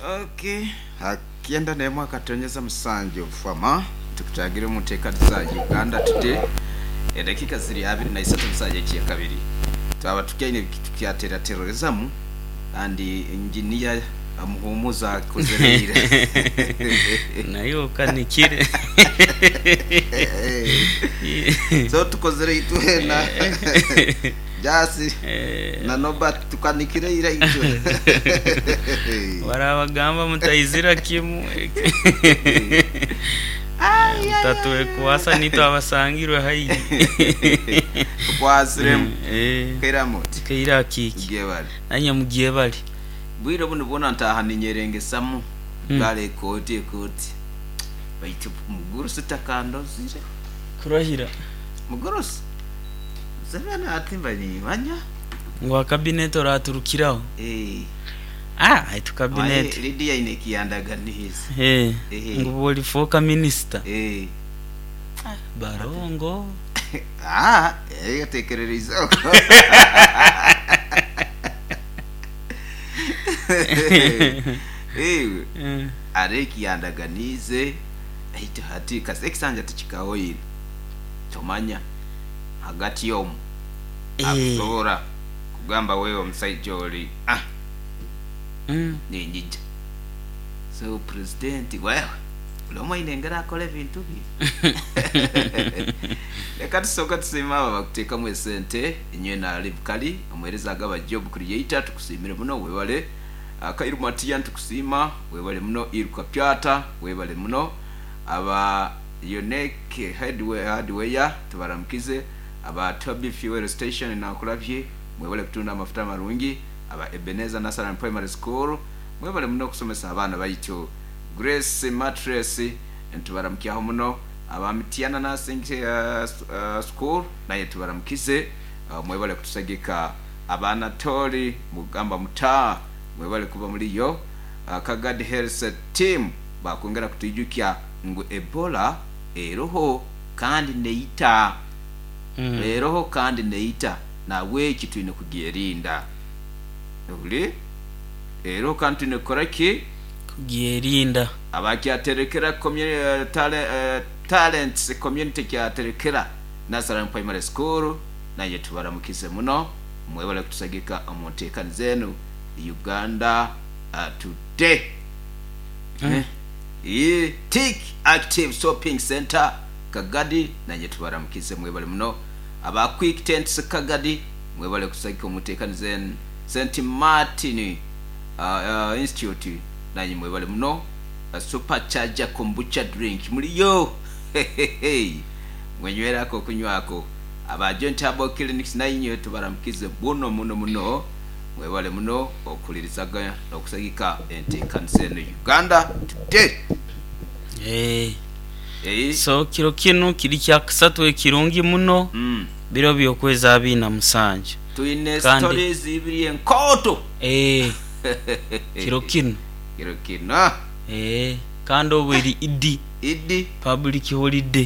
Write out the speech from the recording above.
Okay, ha kyenda n'emwe akatonyeza musanju fama tukutagire omu nteekaniza Uganda Today. Edakiika ziri abiri na isatu omu saaha y'ekyakabiri. Twaba tukyaine tukyateratererezamu kandi engineer Muhumuza akozire ira. Naye okanikire. So tukozire itwena Jasi na Nobert tukanikire ira itwe. Barabagamba mutaizira kimu mutatwekwasa nitwe abasangirwe haihi. Tukwasiremu. Kairamu oti. Kaire akiiki. Mugyebare. Nanye mugyebare. Bwire obundi bwona ntaaha ninyerengesamu ntwara ekooti ekooti baitu mugurusi takandozire. Kurahira. Mugurusi? Museveni ati mba nimanya. Ngu akabineti oraturukiraho? Eeh. Ah baitu kabineti. Manya Lydia aine ekiyandaganiize. Eeh ngu bwolifooka minisita. Eeh. Barongo. Aah otekerereize okwo. Iwe hariho eki yandaganiize baitu hati kasita ekisanja tikikahoire tomanya hagati omu akusobora kugamba wewe omusaija ori ah ninyija. So president wewe buri omwe aine engeri akora ebintu bye. Reka tusooke tusiime abo abakuteekamu esente. Inywena Ribukali, omuheereza agaba Job Creator, tukusiimire muno webale. Kairu Matia nitukusiima webale muno. Iruka Pyata webale muno. Aba Unique Hardware tubaramukize. Aba Toby Fuel Station Nankulabye mwebale kutunda amafuta amarungi. Aba Ebenezer Nursery and Primary School mwebale muno okusomesa abaana baitu. Grace Mattress nitubaramukyaho muno. Aba Mityana Nursing School naye tubaramukize mwebale kutusagika. Aba Anatoli mugamba muta mwebale kuba muliyo. Kagadi Health Team bakwongera kutwijukya ngu Ebola eroho kandi neita. Eroho kandi neita nahabweki twine kugyerinda. Ohurire? Eroho kandi twine kukora ki? Kugyerinda. Aba Kyaterekera Talents Community Kyaterekera Nursery and Primary School naye tubaramukize muno mwebale kutusagika omu nteekaniza enu Uganda Today. Tick Active Shopping Centre Kagadi naye tubaramukize mwebale muno. Aba Quick Tents Kagadi mwebale kutusagika omu nteekaniza enu. St Martin Institute Nanye mwebale muno. Super charger kombucha drink muliyo hehehe mwenyweraku okunywako. Aba Joint Herbal Clinics nainywe tubaramukize muno muno muno mwebale muno okuhulirizaga nokusagika entekanisa eno Uganda Today. Eeh. Eeh. So kiro kinu kiri kyakasatu ekirungi muno biro by'okwezi abiri na musanju. Twine Kandi stories ibiri enkooto. Eeh. Kiro kinu. Kiro kinu. Eeh. Kandi obu eri Idi. Idi. Public holiday.